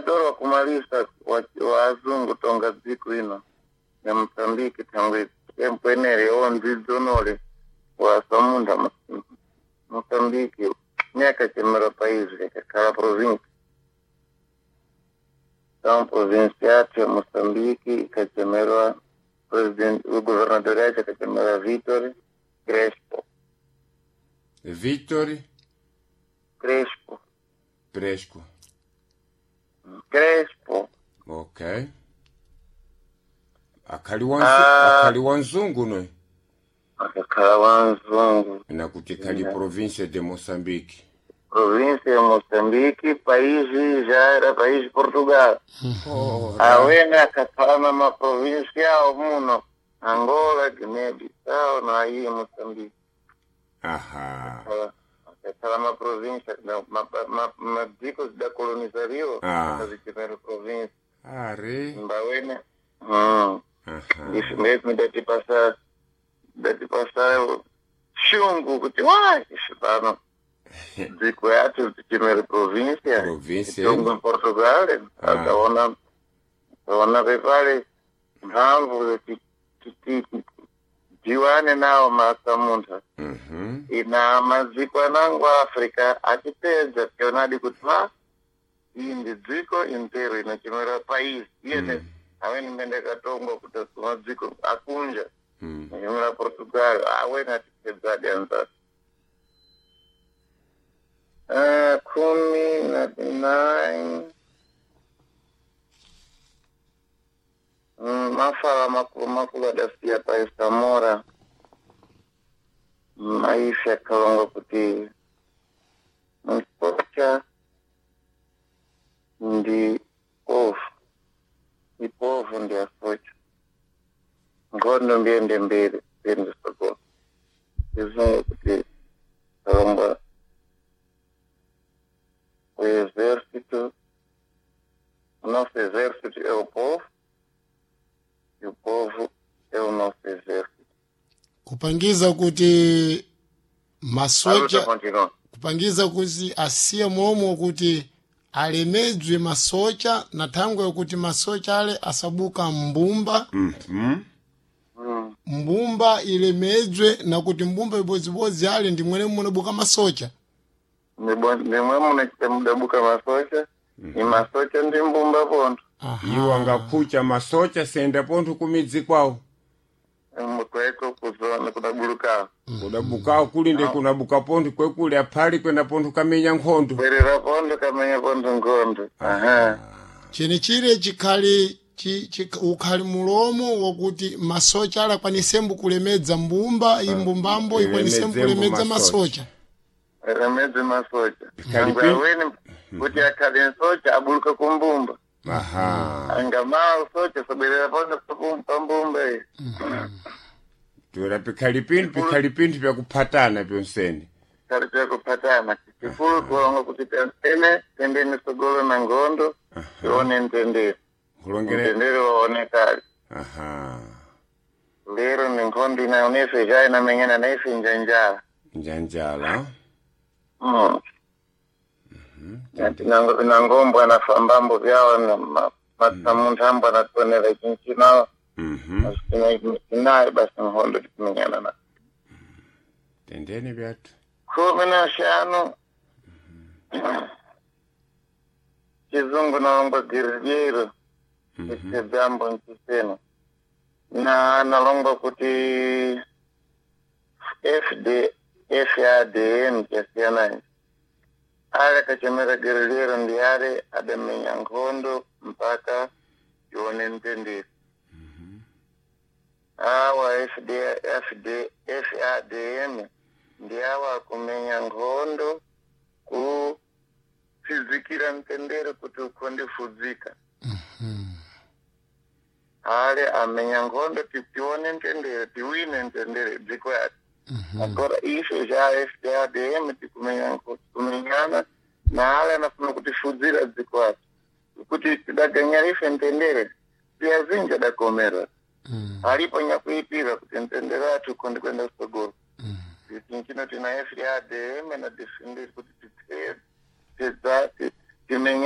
Governador wa kumalisa wa azungu tonga dziko ino ya Mosambiki thangwe tempo enere ondzidzonole wa samunda Mosambiki myakachemera país yakakhala província. Então província yathu ya Moçambique ikachemerwa president o governador yacho akachemera Vitor Crespo. Victor Crespo. Presco. Crespo. Ok. Ah. Akhali wanzungu noyi. Akakhala wanzungu. Nakuti khali província de Moçambique. Província ya Moçambique, país já era país Portugal. Ora. Awene akakhala na maprovíncia awo muno Angola, Guiné-Bissau, na aí Moçambique. Aha. Akakhala maprovíncia, madziko zidakolonizario Ah. akazichimera província. Are. Mbawene. Aha. Isso mesmo datipasa shungu kuti wa isu pano dziko yacho tichimere província. Província. Itongo em Portugal. Ah. Akaona pepale mphamvu tiwane nawo masamuntha. Ina madziko anango Africa achipedza tionadi kuti ma iyi ndi dziko intero inachimera país iyene. Amene mende katongwa kuti madziko akunja nachimera Portugal awene atipedzadi anzati. 19. Mafala makulu makulu adasiya pa Samora. Maisha kalonga kuti msocha ndi povu, ipovu ndi asocha, nkhondo mbiyende mbere mbiyende sokolo. Izungu kuti kalonga o exército, o nosso exército é o povo e o povo é o nosso exército. Kupangiza kuti A luta masocha continua. kupangiza kuti asiye momwe kuti alemedzwe masocha na thangwe yokuti masocha ale asabuka mbumba. Mbumba ilemedzwe na kuti mbumba ibodzibodzi ale ndi mwene munabuka masocha. Ndimwe munachita mudabuka masocha, ni masocha ndi mbumba pontho. Iwo angakhucha masocha senda pontho kumidzi kwawo. Kweko kuzona kudabuluka. Kudabukawo kuli ndi kunabuka pontho kwekuli aphali kwenda pontho kamenya nkhondo. Bwerera pontho kamenya pontho nkhondo. Aha. Chenichire chikhali ukhali mulomo wakuti masocha ale akwanisembo kulemedza mbumba, imbumbambo ikwanisembo ilemedzembo kulemedza masocha. masocha. Remedze masocha. Khali Angwe awene kuti akhale nsocha abuluka kumbumba. Aha. Angamaa usocha sabwerera pontho pambumba iyi. Toera pikhali pinthu pyakuphatana pyonsene. Khali pyakuphatana. Chikulu kulonga kuti tene tendeni sogolo na ngondo tione mtendere. Nkhulongere. Mtendere waonekali. Aha. Lero ni nkhondo inaonefe ja inamenyana naife njanjala. Njanjala. Nangombwa nafambambo vyawo na matsamunthu ambo anatonera chinchinawo. Nayo basi nkhondo tikumenyana na Tendeni byathu. 15. Chizungu nalongwa guerrilheiro ichedzambo nchisena na nalongwa kuti fd fadm chasiyana ichi ale akachemera guerrilheiro ndi ale adamenya nkhondo mpaka ione mtendere. Awa fd fd fadm ndi awa akumenya nkhondo kutsidzikira mtendere kuti ukhonde fudzika. Ale amenya nkhondo tione mtendere, tiwine mtendere dziko yati. Agora ife já FDADM tikumenyana na ale anafuna kutifudzira dziko ati kuti tidaganyira ife mtendere tiyazinji adakomera alipo nyakuipira kuti mtendere ati ukhonde kwenda kusogolo. Tinchino tina FDADM na defender kuti timenye.